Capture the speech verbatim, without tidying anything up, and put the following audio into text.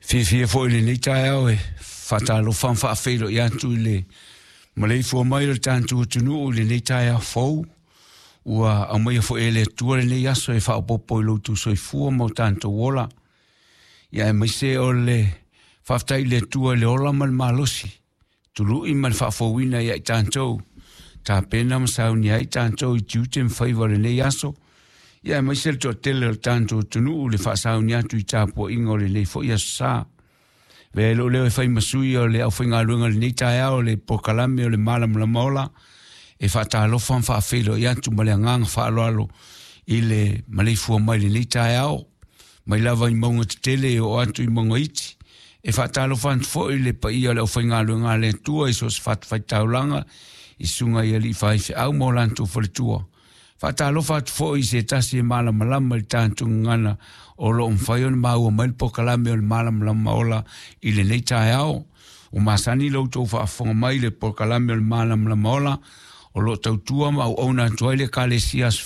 Fiafia foi i lenei taeao e faatalofa ma faafeiloai atu i le maleifua mai o le tatou atunuu i lenei taeao fou ua aumaia foi e le Atua lenei aso e faaopoopo i lo outou soifua ma o tatou ola. Ia aemaise o le faafetai i le Atua i le ola ma le malosi, tului ma le faafouina ia i tatou, tapena ma saunia ai tatou i tiute ma faiva o lenei aso. Ia aemaise le toatele o le tatou atunuu le faasaunia atu i tapuaiga o lenei foi aso sa. Avea ai lou leo e fai ma sui o le aufaigaluega o lenei taeao o le polokalame o le Malamalama Ola e faatalofa ma faafeiloai atu ma le agaga faaaloalo i le maleifua mai lenei taeao, mai lava i mauga tetele e oo atu i mauga iti. E faatalofa atu foi i le paia o le aufaigaluega a le Atua i so o se fatafaitaulaga i susuga i alii faifeau ma o latou faletua. Faatalofa atu foi i se tasi e malamalama i le tatou gagana o lo o mafai ona maua mai le polokalame o le Malamalama Ola i lenei taeao. Ua masani lo outou faafofoga mai i le polokalame o le Malamalama Ola o lo o tautua ma auauna atu ai le Ekalesia Aso